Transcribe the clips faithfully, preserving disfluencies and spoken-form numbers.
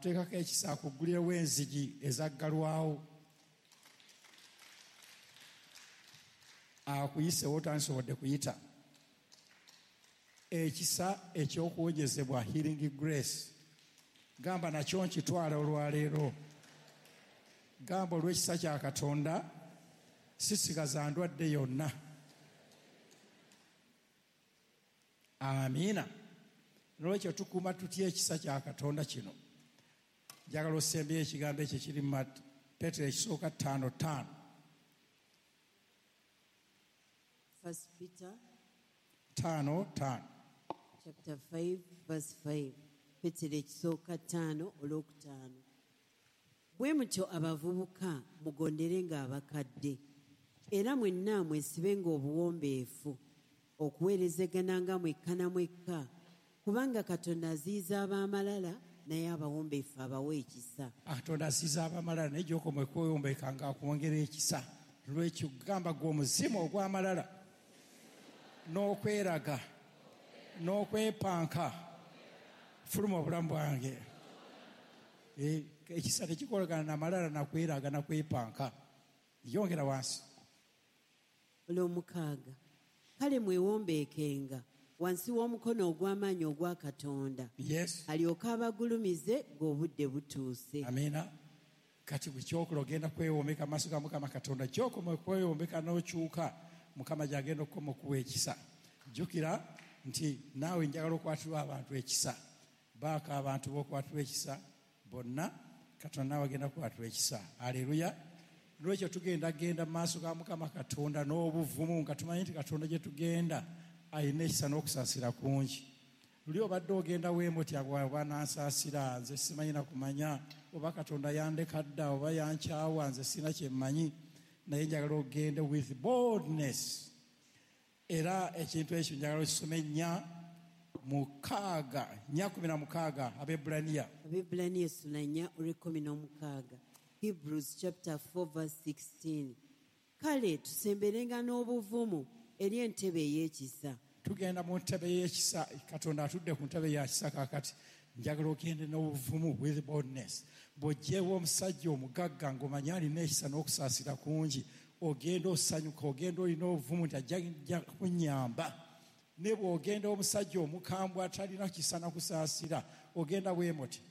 Akuteekako ekisa akuggulirewo enzigi ezaggalwawo, akuyisewo otandisobodde kuyita. Ekisa ekyokuwonyezebwa, healing grace, gamba nakyo nkitwala olwaleero. Gamba olw'ekisa kya Katonda sisigaza ndwadde yonna. Amiina. Nolwekyo tukuuma tutya ekisa kya Katonda kino? Njagala osembyeyo ekigambo ekyo kiri mu Peetero ekisooka ttaano ttaano. First Peter ttaano ttaano. Chapter five verse five. Peetero ekisooka ttaano olwokutaano. Bwe mutyo abavubuka mugonderenga abakadde, era mwenna mwesibenga obuwombeefu, okuweerezegananga mwekka na mwekka, kubanga Katonda aziyiza ab'amalala naye abawombeefu abawa ekisa. Katonda aziyiza ab'amalala naye gy'okoma okwewombeeka ng'akwongera ekisa. Lwekyo gamba gwe omuzimu ogw'amalala n'okweraga n'okwepanka, fuluma obulamu bwange. Ekisa tekikolagana n'amalala nakweraga nakwepanka. Yongera wansi. Olwomukaaga. Kale mwewombeekenga wansi w'omukono ogw'amaanyi ogwa Katonda. Yes. Alyoke abagulumize ng'obudde butuuse. Amiina. Kati bwe kyokola ogenda kwewombeka mu maaso ga Mukama Katonda. Kyokoma okwewombeka n'okyuka, Mukama gy'agenda okukoma okuwa ekisa. Jjukira nti naawe njagala okwatirwa abantu ekisa. Baako abantu b'okwatirwa ekisa bonna, Katonda naawe agenda kukwatirwa ekisa. Aleluya. Lwekyo tugenda genda mu maaso ga Mukama Katonda n'obuvumu nga tumanyi nti Katonda gye tugenda alina ekisa n'okusaasira kungi. Luli obadde ogenda weemutya oba nansaasira, nze simanyi na kumanya oba Katonda yandeka dda oba yankyawa, nze sina kye mmanyi, naye njagala ogende with boldness. Era ekintu ekyo njagala okisome nnya mukaaga, nnya kumi na mukaaga, Abebbulaniya. Abebbulaniya essula nnya olw'ekkumi n'omukaaga. Hebrews chapter four verse sixteen. Kale tusemberenga n'obuvumu eri entebe ey'ekisa. Tugenda mu ntebe y'ekisa. Katonda atudde ku ntebe ya kisa kaakati. Njagala ogende n'obuvumu with boldness. Bw'oggyewo omusajja omugagga ng'omanyi alina ekisa n'okusaasira kungi, ogenda osanyuka, ogenda olina obuvumu nti ajja kunnyamba. Ne bw'ogenda omusajja omukambwe atalina kisa na kusaasira, ogenda weemuti.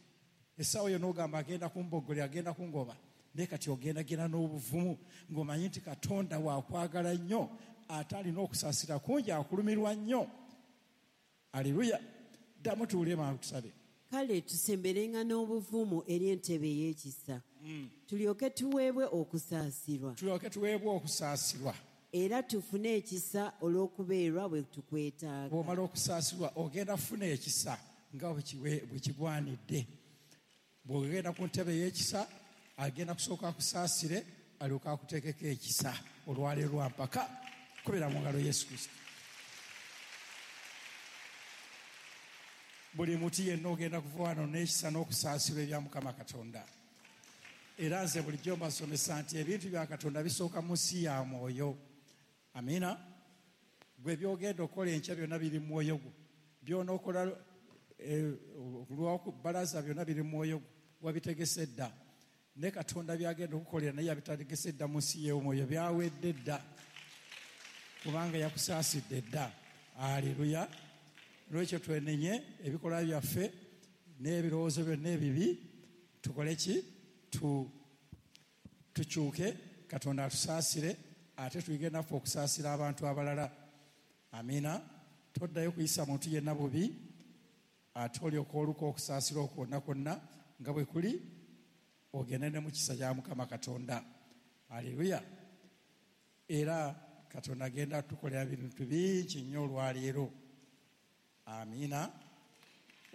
Essaawa yonna ogamba agenda kumboggolera, agenda kungoba. Naye kati ogenda genda n'obuvumu ng'omanyi nti Katonda waakwagala nnyo, ate alina okusaasira kungi, akulumirwa nnyo. Aleluya. Ddamu tuwulire mangu tusabe. Kale tusemberenga n'obuvumu eri entebe ey'ekisa, tulyoke tuweebwe okusaasirwa. Tulyoke tuweebwe okusaasirwa. Era tufune ekisa olw'okubeerwa bwe tukwetaaga. Bw'omala okusaasirwa ogenda kufuna ekisa nga bwe kigwanidde. Bw'ogenda ku ntebe y'ekisa agenda kusooka akusaasire alyoke akuteekeko ekisa olwaleero lwa mpaka. Kubira mu ngalo Yesu Kristo. Buli muti yenna ogenda kuva wano n'ekisa n'okusaasirwa ebya Mukama Katonda. Era nze bulijjo mbasomesa nti ebintu bya Katonda bisooka mu nsi ya mwoyo. Amiina. Gwe by'ogenda okukola enkya byonna biri mu mwoyo gwo. By'onookola lwakubalaza byonna biri mu mwoyo gwo, wabitegese dda. Ne Katonda by'agenda okukolera naye yabitegese dda mu nsi y'omwoyo, byawedde dda kubanga yakusaasidde dda. Aleluya. Lwekyo twenenye ebikolwa byaffe n'ebirowoozo byonna ebibi, tukole ki? Tukyuke, Katonda atusaasire, ate tuyige naffe okusaasira abantu abalala. Amiina. Toddayo kuyisa muntu yenna bubi, ate olyoka oluka okusaasira okwonna kwonna nga bwe kuli, ogende ne mu kisa kya Mukama Katonda. Aleluya. Era Katonda agenda atukolera bintu bingi nnyo olwaleero. Amiina.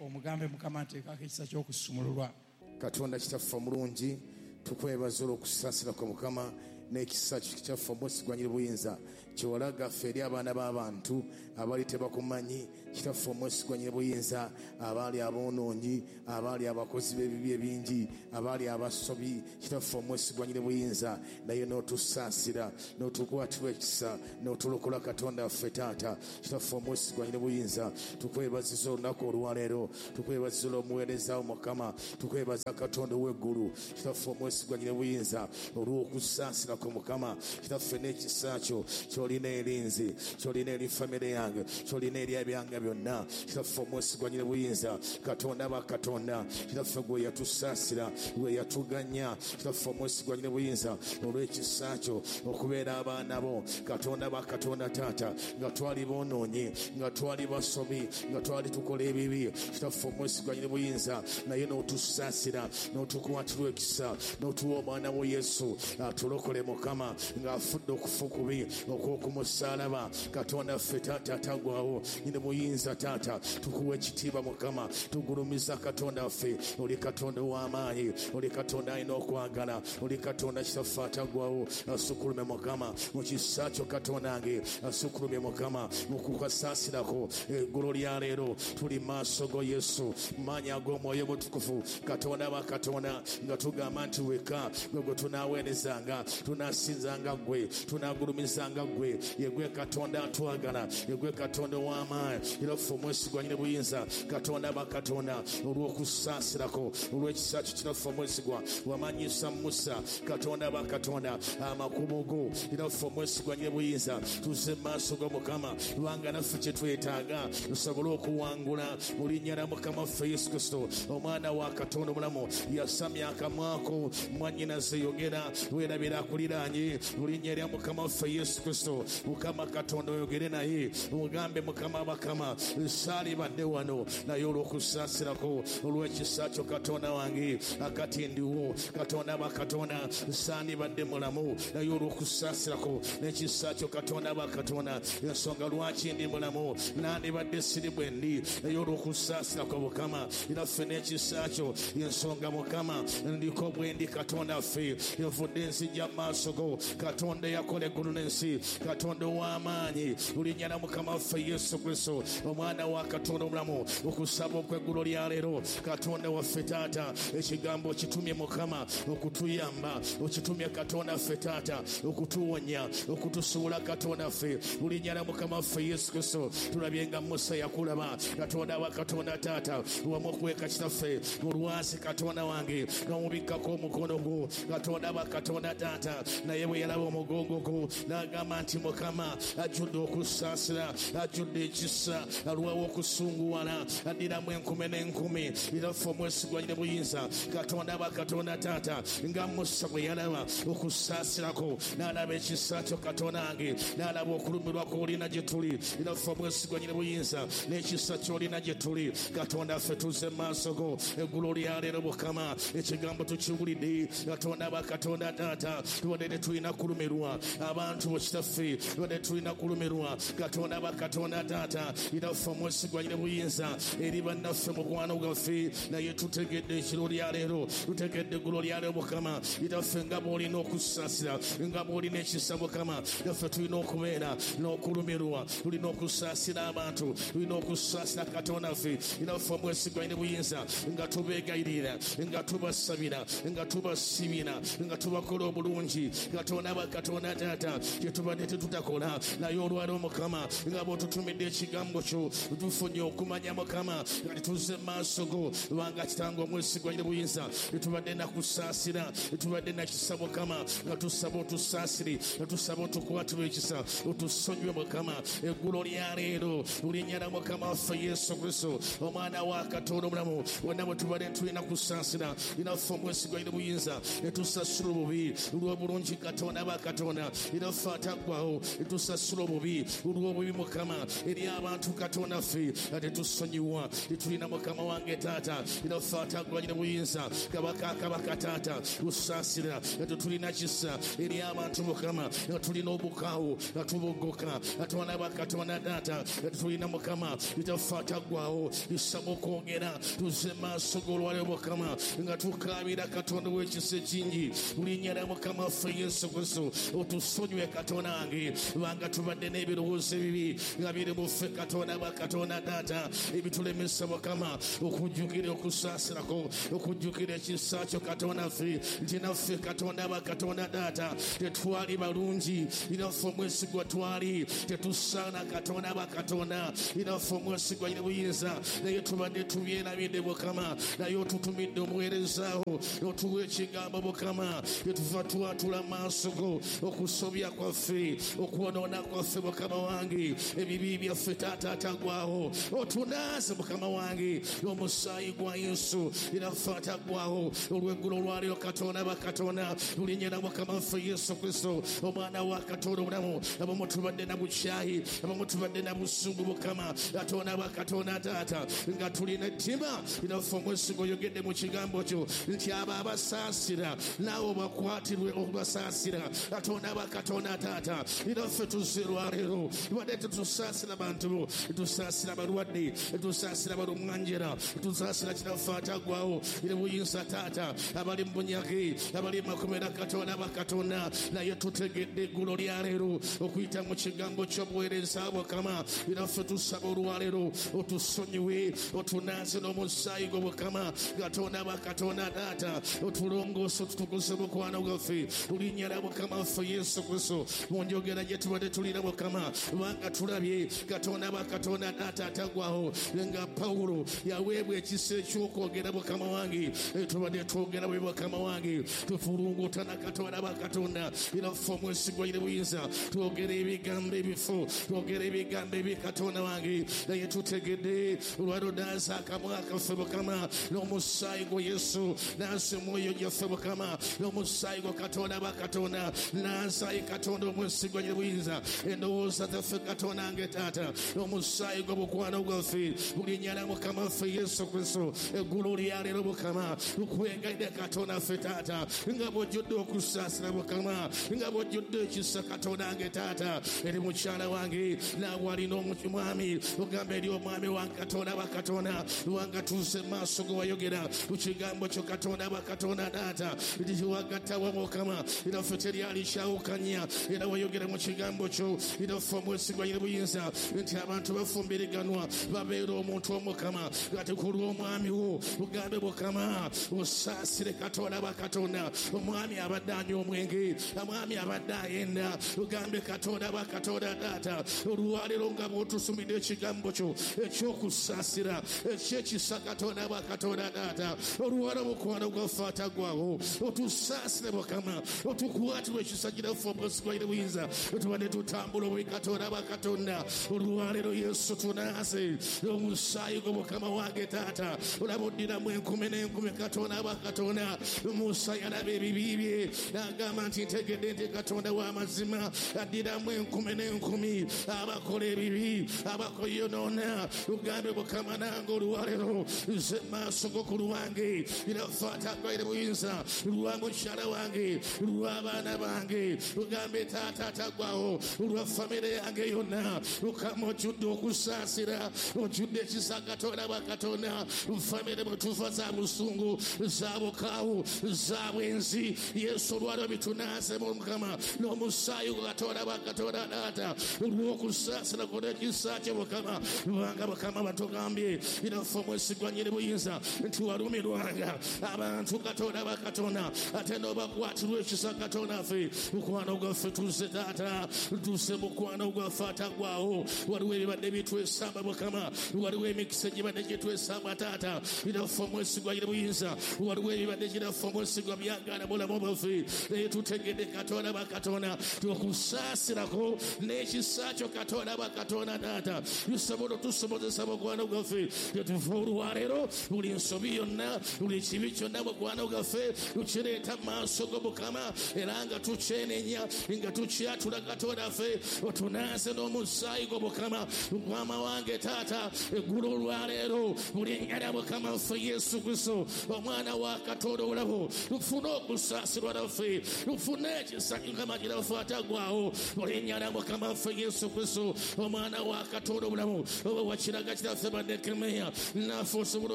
Omugambe Mukama nteekako ekisa ky'okusumululwa. Katonda kitaffe omulungi, tukwebaza olw'okusaasira kwa Mukama N'ekisa kyaffe omwesigwa nyiri buyinza kyewalaga ffe eri abaana b'abantu abaali tebakumanyi, kitaffe omwesigwa nyiri buyinza, abaali aboonoonyi, abaali abakozi b'ebibi ebingi, abaali abasobi, kitaffe omwesigwa nyiri buyinza, naye n'otusaasira n'otukwatirwa ekisa n'otulokola Katonda waffe taata. Kitaffe omwesigwa nyiri buyinza, tukwebaziza olunaku olwaleero, tukwebaziza olw'omuweereza wo Mukama, tukwebaza Katonda ow'eggulu, kitaffe omwesigwa nyiri buyinza, olw'okusaasira ku Mukama, kitaffe n'ekisa kyo ky'olina eri nze, ky'olina eri famire yange, ky'olina eri ebyange byonna. Kitaffe omwesigwa nyiri buyinza, Katonda ba Katonda, kitaffe gwe yatusaasira, gwe yatuganya, kitaffe omwesigwa nyiri buyinza, olw'ekisa kyo okubeera abaana bo, Katonda ba Katonda taata, nga twali boonoonyi, nga twali basobi, nga twali tukola ebibi, kitaffe omwesigwa nyiri buyinza, naye n'otusaasira n'otukwatirwa ekisa n'otuwa omwana wo Yesu atulokole Mukama, ng'afudde okufa kubi okw'okumusaalaba. Katonda ffe taata atagwawo nyini buyinza taata, tukuwa ekitiibwa Mukama, tugulumiza Katonda ffe, oli Katonda ow'amaanyi, oli Katonda alina okwagala, oli Katonda kitaffe atagwawo. Asukulume Mukama mu kisa kyo Katonda wange, asukulume Mukama mu kukasaasirako. Eggulo lya leero tuli maaso go Yesu, maanyi ag'omwoyo mutukuvu, Katonda wa Katonda, nga tugamba nti weka gwe gwe tunaaweerezanga, tunaasinzanga ggwe, tunaagulumizanga ggwe, ye gwe Katonda atwagala, ye gwe Katonda ow'amaanyi, era ffe omwesigwa nyini buyinza, Katonda ba Katonda, olw'okusaasirako, olw'ekisa kyo kitaffe omwesigwa, wamanyisa Musa, Katonda ba Katonda, amakubo go, era ffe omwesigwa nyini buyinza, tuzze mu maaso go Mukama, lwanga naffe kye twetaaga tusobole okuwangula mu linnya lya Mukama waffe Yesu Kristo, omwana wa Katonda omulamu. Yasamya akamwako, mwannyinaze yogera, weerabira akuliraanye, mu linnya lya Mukama waffe Yesu Kristo. Mukama Katonda oyogere naye, omugambe Mukama bakama, saalibadde wano, naye olw'okusaasirako, olw'ekisa kyo Katonda wange, akati ndiwo, Katonda ba Katonda, saalibadde mulamu, naye olw'okusaasirako n'ekisa kyo Katonda ba Katonda, ensonga lwaki ndi mulamu, nandibadde siri bwe ndi, naye olw'okusaasirako Mukama, era ffe n'ekisa kyo, ensonga Mukama ndiko bwe ndi Katonda ffe, envudde nzijja mu maaso go, Katonda eyakola eggulu n'ensi, Katonda ow'amaanyi, linnya lya Mukama waffe Yesu Kristo, omwana wa Katonda omulamu, okusaba okw'eggulo lya leero, Katonda waffe taata, ekigambo okitumye Mukama okutuyamba, okitumye Katonda ffe taata okutuwonya, okutusuula Katonda ffe, linnya lya Mukama waffe Yesu Kristo. Tulabye nga Musa yakulaba, Katonda wa Katonda taata, wamukweka kitaffe mu lwazi Katonda wange, n'omubikkako omukono gwo, Katonda wa Katonda taata, naye bwe yalaba omugongo gwo n'agamba nti Mukama ajjudde okusaasira, ajjudde ekisa, alwawo okusunguwala, addiramu enkumi n'enkumi, era ffe omwesigwa nyini buyinza, Katonda wa Katonda taata, nga Musa bwe yalaba okusaasirako, n'alaba ekisa kyo Katonda wange, n'alaba okulumirwa kw'olina gye tuli, era ffe omwesigwa nyini buyinza n'ekisa ky'olina gye tuli, Katonda ffe tuzze mu maaso go eggulo lya leero Mukama, ekigambo tukiwulidde, Katonda wa Katonda taata, tubadde tetulina kulumirwa abantu bo kitaffe, tubadde tulina kulumirwa, Katonda wa Katonda taata, era ffe omwesigwa nyini buyinza eri bannaffe mukwano gwaffe, naye tutegedde ekiro lya leero, tutegedde eggulo lya leero Mukama, era ffe nga bw'olina okusaasira, nga bw'olina ekisa Mukama, naffe tulina okubeera n'okulumirwa, tulina okusaasira abantu, tulina okusaasira Katonda ffe, era ffe omwesigwa nyini buyinza, nga tubeegayirira, nga tubasabira, nga tubasibira, nga tubakola obulungi, Katonda wa Katonda taata, kye tubadde tetutakola, naye olwaleero Mukama, nga bw'otutumidde ekigambo kyo, tufunye okumanya Mukama, nga tuzze mu maaso go, lwanga kitange omwesigwa nyini buyinza, tetubadde nakusaasira, tetubadde nakisa Mukama, nga tusaba otusaasire, nga tusaba otukwatirwe ekisa, otusonyiwe Mukama, eggulo lya leero, linnya lya Mukama waffe Yesu Kristo, omwana wa Katonda omulamu, wonna bwe tubadde tulina kusaasira, era ffe omwesigwa nyini buyinza, ne tusasula obubi olw'obulungi Katonda ba Katonda, era ffe ataggwawo, ne tusasula obubi olw'obubi Mukama, eri abantu Katonda ffe, nga tetusonyiwa, tetulina Mukama wange taata, era ffe ataggwa nyini buyinza, kabaka kabaka taata, tusaasira, nga tetulina kisa eri abantu Mukama, nga tulina obukaawu, nga tubogoka, Katonda ba Katonda taata, nga tetulina Mukama, era ffe ataggwawo, tusaba okwongera, tuzze mu maaso g'olwaleero Mukama, nga tukaabira Katonda w'ekisa ekingi, mu linnya lya Mukama waffe Yesu Kristo otusonyiwe Katonda wange kubanga tubadde n'ebirowoozo ebibi nga biri mu ffe Katonda wa Katonda taata ebitulemesa Mukama okujjukira okusaasirako okujjukira ekisa kyo Katonda ffe nti naffe Katonda wa Katonda taata tetwali balungi naffe omwesigwa twali tetusaana Katonda wa Katonda naffe omwesigwa alina buyinza naye tubadde tubyerabidde Mukama naye otutumidde omuweerezaawo otuwa ekigambo Mukama etuva twatula maaso go okusobya kwaffe okwonoona kwaffe Mukama wange ebibi byaffe taata atagwawo otunaaze Mukama wange omusaayi gwa Yesu naffe atagwawo olw'eggulo olwaleero Katonda wa Katonda lulinnya lya Mukama waffe Yesu Kristo omwana wa Katonda omulamu abamu tubadde na bukyayi abamu tubadde na busungu Mukama Katonda wa Katonda taata nga tulina ettima naffe omwesiga oyogedde mu kigambo kyo nti abo abasaasira naawe bakwatirwe okubasaasira Katonda wa Katonda taata naffe tuzze olwaleero tubadde tetusaasira bantu bo tusaasira abalwadde tusaasira balumwanjera tusaasira kitaffe atagwawo eri buyinza taata abali mu bunyage abali mu makomera Katonda wa Katonda naye tutegedde eggulo lya leero okuyita mu kigambo ky'obuweereza Mukama naffe tusaba olwaleero otusonyiwe otunaaze n'omusaayi gwo Mukama Katonda wa Katonda taata otulongoose otutukuze mukwano gwaffe linnya lya Mukama waffe Yesu Kristo mu njogera gye tubadde tulina Mukama kubanga tulabye Katonda wa Katonda taata atagwawo nga Pawulo yaweebwa ekisa eky'okwogera Mukama wange tubadde twogera bwe Mukama wange tufulungutana Katonda wa Katonda naffe omwesigwa alina buyinza twogera ebigambo ebifu twogera ebigambo ebi Katonda wange naye tutegedde olwaleero naaza akamwa kaffe Mukama n'omusaayi gwa Yesu naaza omwoyo gyaffe Mukama n'omusaayi gwa Katonda wa Katonda naaza Katonda omwesigwa alina buyinza endowooza zaffe Katonda wange taata n'omusaayi gwa mukwano gwaffe linnya lya Mukama waffe Yesu Kristo eggulu lya leero Mukama tukwegayirira Katonda ffe taata nga bw'ojjudde okusaasira Mukama nga bw'ojjudde ekisa Katonda wange taata eri mukyala wange naawe alina omwami ogamba eri omwami wange Katonda wa Katonda wanga tuuse maaso ge wayogera ku kigambo kyo Katonda wa Katonda taata nti wagattawa Mukama era ffe teryali kyawukanya era wayogera mu kigambo kyo era ffe omwesigwa alina buyinza nti abantu bafumbiriganwa babeera omuntu omukama kati ku lw'omwami wo ogambe Mukama osaasire Katonda wa Katonda omwami abadde anywa omwenge omwami abadde ayenda ogambe Katonda wa Katonda taata olwaleero nga bw'otusumidde ekigambo kyo ekyokusaasira ekyekisa Katonda wa Katonda taata olwaleero mukwano gwaffe atagwawo otusaasire Mukama otukwatirwe ekisa kiraffe omwesigwa alina buyinza tubadde tutambula obubi Katonda wa Katonda olwaleero Yesu tunaaze omusaayi gwo Mukama wange taata olaba oddiramu enkumi n'enkumi Katonda wa Katonda Musa yalaba ebibi bye n'agamba nti ntegedde nti Katonda w'amazima addiramu enkumi n'enkumi abakola ebibi abakoyonoona ogambe Mukama nange olwaleero nze maaso go ku lwange naffe atagwaire buyinza lwa mukyala wange lw'abaana bange ogambe taata atagwawo olwa famire yange yonna Mukama ojjudde okusaasira ojjudde ekisa Katonda wa Katonda famire bwe tuva za busungu za bukaawu za bwenzi Yesu olwaleero bitunaaze Mukama n'omusaayi gwa Katonda wa Katonda taata olw'okusaasira kwo n'ekisa kyo Mukama kubanga Mukama batugambye naffe omwesigwa nnyini buyinza nti walumirwanga abantu Katonda wa Katonda ate n'obakwatirwa ekisa Katonda ffe mukwano gwaffe tuzze taata tuuse mukwano gwaffe atagwawo waliwo ebibadde bitwesamba Mukama waliwo emikisa egibadde gitwesamba taata naffe omwesigwa nnyini buyinza waliwo ebibadde giraffe omwesigwa byagaana bulamu bwaffe naye tutegedde Katonda wa Katonda tukusaasirako n'ekisa kyo Katonda wa Katonda taata tusobola otusobozesa mukwano gwaffe tetuva olwaleero buli nsobi yonna buli kibi kyonna mukwano gwaffe tukireeta mu maaso go Mukama era nga tukyenenya nga tukyatula Katonda ffe otunaaze n'omusaayi gwo Mukama Mukama wange taata eggulu olwaleero buli linnya lya Mukama waffe Yesu Kristo omwana wa Katonda obulamu tufune okusaasirwa naffe tufune ekisa Mukama kiraffe atagwawo mu linnya lya Mukama waffe Yesu Kristo omwana wa Katonda obulamu oba wakiraga kiraffe bannekemeya naffe osobola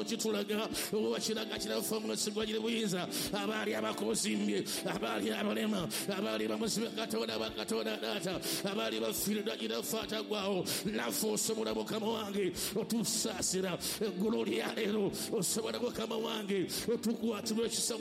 okitulaga oba wakiraga kiraffe omwesigwa giri buyinza abaali abakozimbye abaali abaali abalema, abaali bamuzibe Katonda wa Katonda taata, abaali bafiiriddwa Kitaffe ataggwaawo. Naffe osobola Mukama wange otusaasira eggulo lya leero, osobola Mukama wange otukwatirwa ekisa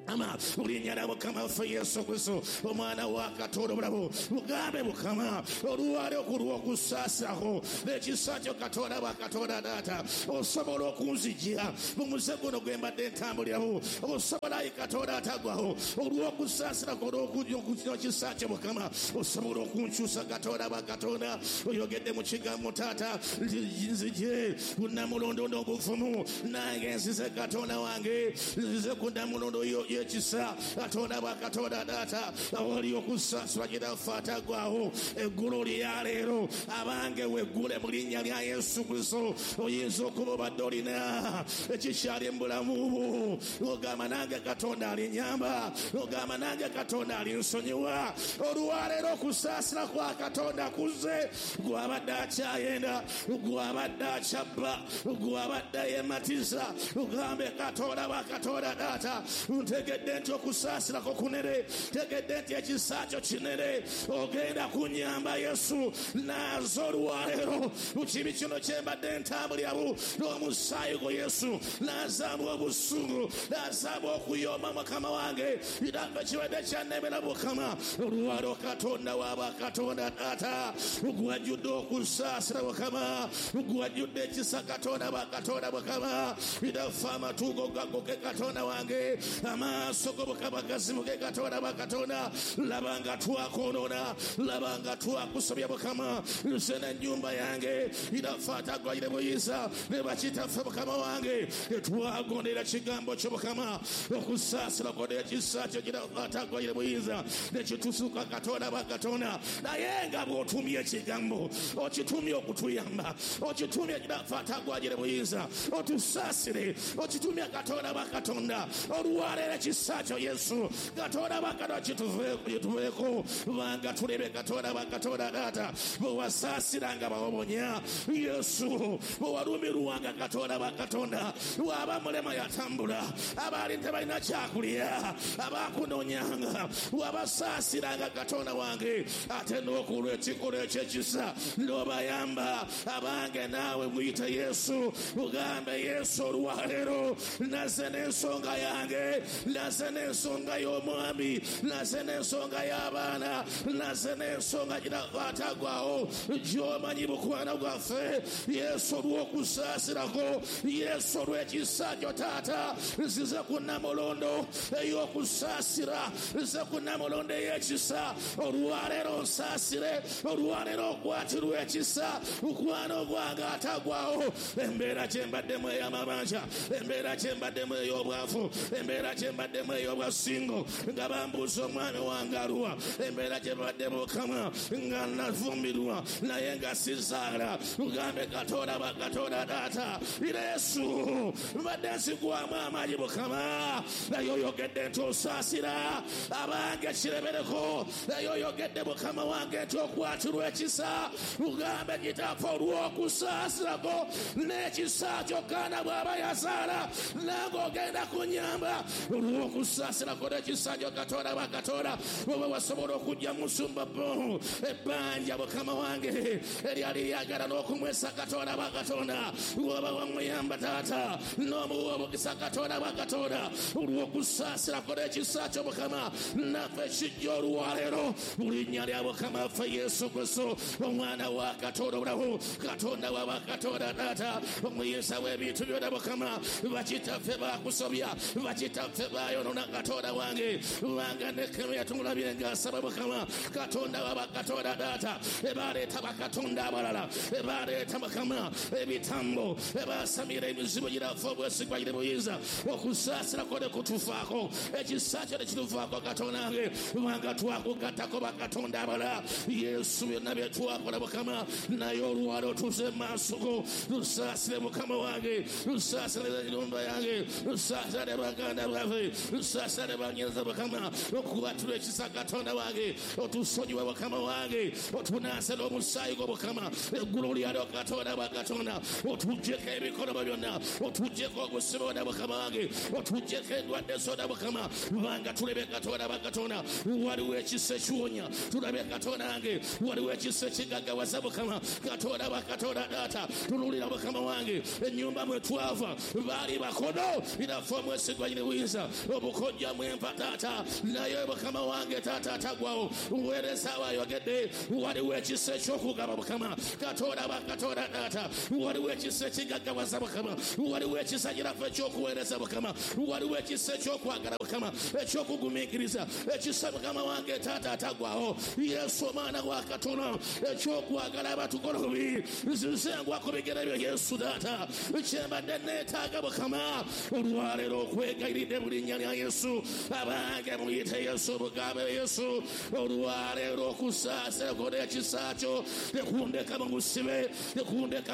Ama linnya lya Mukama waffe Yesu Kristo omwana wa Katonda omulamu. Mugambe Mukama olwaleero ku lw'okusaasirako n'ekisa kyo Katonda wa Katonda taata, osobola okunzijja mu muze guno gwe mbadde ntambuliramu, osobola ayi Katonda ataggwawo olw'okusaasirako n'ekisa kyo Mukama, osobola okunkyusa Katonda wa Katonda. Oyogedde mu kigambo taata, nzije ku nnamulondo n'obuvumu, nange nzize Katonda wange, nzize ku nnamulondo yo ekisa Katonda wa Katonda taata, awali okusaasirwa Kitaffe ataggwaawo. Eggulu lya leero abange weggule mu linnya lya Yesu Kristo. Oyinza okuba obadde olina ekikyali mu bulamu bwo, ogamba nange Katonda alinnyamba, ogamba nange Katonda alinsonyiwa. Olwaleero okusaasira kwa Katonda kuzze. Gw'abadde akyayenda, gw'abadde akyabba, gw'abadde yeematiza, ogambe Katonda wa Katonda taata, ntegedde nti okusaasirako kunene, ntegedde nti ekisa kyo kinene, ogenda kunnyamba Yesu. Naaza olwaleero mu kibi kino kye mbadde ntambuliramu n'omusaayi gwo Yesu, naazaamu obusungu, naazaamu okuyomba Mukama wange, kitange kibadde kyannemera Mukama. Olwaleero Katonda wa bakatonda taata, gwajjudde okusaasira Mukama, gwajjudde ekisa Katonda wa Katonda Mukama, kitaffe amatu gagoke Katonda wange, amaaso go Mukama gazibuke Katonda wa Katonda. Laba nga twakoonona, laba nga twakusobya Mukama, nze n'ennyumba yange kitaffe ataggwayire buyinza ne bakitaffe Mukama wange, tetwagondera kigambo kyo Mukama, okusaasira kwo n'ekisa kyo kitaffe ataggwayire buyinza ne kitusuka Katonda wa Katonda. Naye nga bw'otumye ekigambo, okitumye okutuyamba, okitumye kitaffe ataggwayire buyinza otusaasire, okitumye Katonda wa Katonda. Olwaleero ekisa kyo Yesu Katonda wa Katonda kituveeko, kubanga tulebe Katonda wa Katonda taata, bwe wasaasiranga bawobonya Yesu, bwe walumirwanga Katonda wa Katonda, bw'aba mulema yatambula, abaali tebalina kyakulya abakunoonyanga, wabasaasiranga Katonda wange, ate n'okulwa ekikolwa eky'ekisa n'obayamba. Abange naawe muyite Yesu, mugambe Yesu olwaleero naze n'ensonga yange, naze n'ensonga y'omwami, naze n'ensonga y'abaana, naze n'ensonga ataggwaawo gy'omanyi mukwano gwaffe Yesu, olw'okusaasirako Yesu, olw'ekisa kyo taata, nzize ku nnamulondo ey'okusaasira, nzize ku nnamulondo ey'ekisa. Olwaleero nsaasire, olwaleero okwatirwa ekisa mukwano gwange ataggwaawo. Embeera gye mbaddemu ey'amabanja, embeera gye mbaddemu ey'obwavu, embeera gye mbaddemu ey'obwasingo nga bambuuza omwami wange aluwa, embeera gye mbaddemu Mukama nga nafumbirwa naye nga sizaala, mugambe Katonda wa Katonda taata, Yesu mbadde nzigwamu amaanyi Mukama, naye oyogedde nti osaasira abange kiremereko, naye oyogedde Mukama wange nti okwatirwa ekisa. Mugambe Kitaffe olw'okusaasirako n'ekisa kyo Kaana bw'aba yazaala, nange ogenda kunnyamba olw'okusaasirako n'ekisa kyo Katonda wa Katonda. Bw'oba wasobola okujja musumba bo ebbanja Mukama wange eryali lyagala n'okumwesa Katonda wa Katonda, bw'oba wamuyamba taata n'omuwa omukisa Katonda wa Katonda, olw'okusaasirako n'ekisa kyo Mukama, naffe kijja olwaleero mu linnya lya Mukama waffe Yesu Kristo omwana wa Katonda omulamu, Katonda wa bakatonda taata, omuyinza w'ebintu byonna Mukama. Bakitaffe bakusobya, bakitaffe bayonoona Katonda wange, kubanga Nehemiya tumulabye ng'asaba Mukama Katonda wa bakatonda taata, ebaleeta bakatonda abalala, ebaleeta Mukama ebitambo, ebasamira emizimu girafe obwesigwa gire buyinza. Okusaasirako ne kutufaako, ekisa kyo ne kitufaako Katonda wange, kubanga twakugattako bakatonda abalala. Yesu byonna bye twakola Mukama, naye olwaleero tuze mu maaso go, lusaasire Mukama wange, lusaasire ennyumba yange, lusaasire baganda baffe, wange nsasale banyeza Mukama okubatula ekisa Katonda wange otusonyiwe Mukama wange otunaase n'omusaayi gwo Mukama eggulu lyalyo Katonda wa Katonda otuggyeko ebikolobo byonna otuggyeko obusibe bwonna Mukama wange otuggyeko endwadde zonna Mukama kubanga tulabye Katonda wa Katonda waliwo ekisa ekiwonya tulabye Katonda wange waliwo ekisa ekigaggawaza Mukama Katonda wa Katonda taata tunuulira Mukama wange ennyumba mwe twava baali bakono inaffe omwesigwa nyini buyinza obukojja mwempa taata naye Mukama wange taata atagwawo weereza abayogedde waliwo ekisa eky'okugaba Mukama Katonda wa Katonda taata waliwo ekisa ekigaggawaza Mukama waliwo ekisa giraffe ekyokuweereza Mukama waliwo ekisa ekyokwagala Mukama ekyokugumiikiriza ekisa Mukama wange taata atagwawo Yesu omwana wa Katonda ekyokwagala abatukola bubi nzize ngwa ku bigere byo Yesu taata kyembadde neetaaga Mukama olwaleero okwegayiridde mu linnya lya Yesu abange muyite Yesu mugambe Yesu olwaleero okusaasira kwo n'ekisa kyo tekundeka mu busibe tekundeka